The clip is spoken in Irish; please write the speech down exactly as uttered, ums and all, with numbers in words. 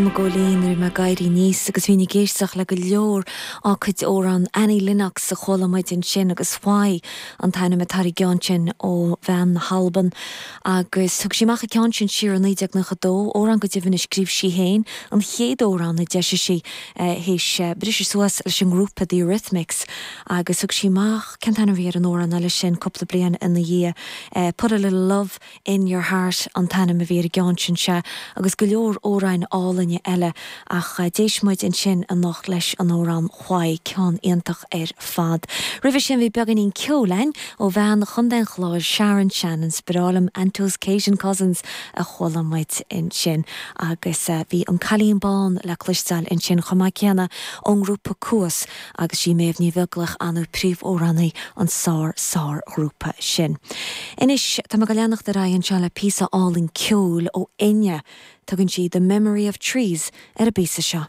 Mo ghóilín nuair a bhí mé ag éirí aníos agus bhínn ag éisteacht le go leor dá cuid amhrán Annie Lennox a chuala muid ansin agus Why an t-ainm atá ar an gceann sin ó bhean na hAlban agus thug sí amach an ceann sin siar i naoi déag nócha dó, amhrán go deimhin a scríobh sí féin, an chéad amhrán a d'eisigh sí théis briseadh suas leis an ngrúpa The Eurythmics agus thug sí amach, cén t-ainm a bhí ar an amhrán eile sin cúpla bliain ina dhiaidh, Put a Little Love In Your Heart an t-ainm a bhí ar an gceann sin, sea, agus go leor amhráin álainne eile, ach d'éist muid ansin anocht leis an amhrán Why, ceann iontach ar fad. Roimhe sin bhí beagáinín ceoil againn ó bhean Chontae an Chláir, Sharon Shannon, is breá liom Antos Cajun Cousins a chuala muid ansin agus bhí An Cailín Bán le cloisteáil ansin chomh maith céanna ón ngrúpa Cuas agus sí Méabh Ní Bheaglaoich an príomhamhránaí an sár sár ghrúpa sin. Anois tá mé ag leanacht ar aghaidh anseo le píosa álainn ceoil ó Enya. Tugann sí The Memory of Trees ar an bpíosa seo.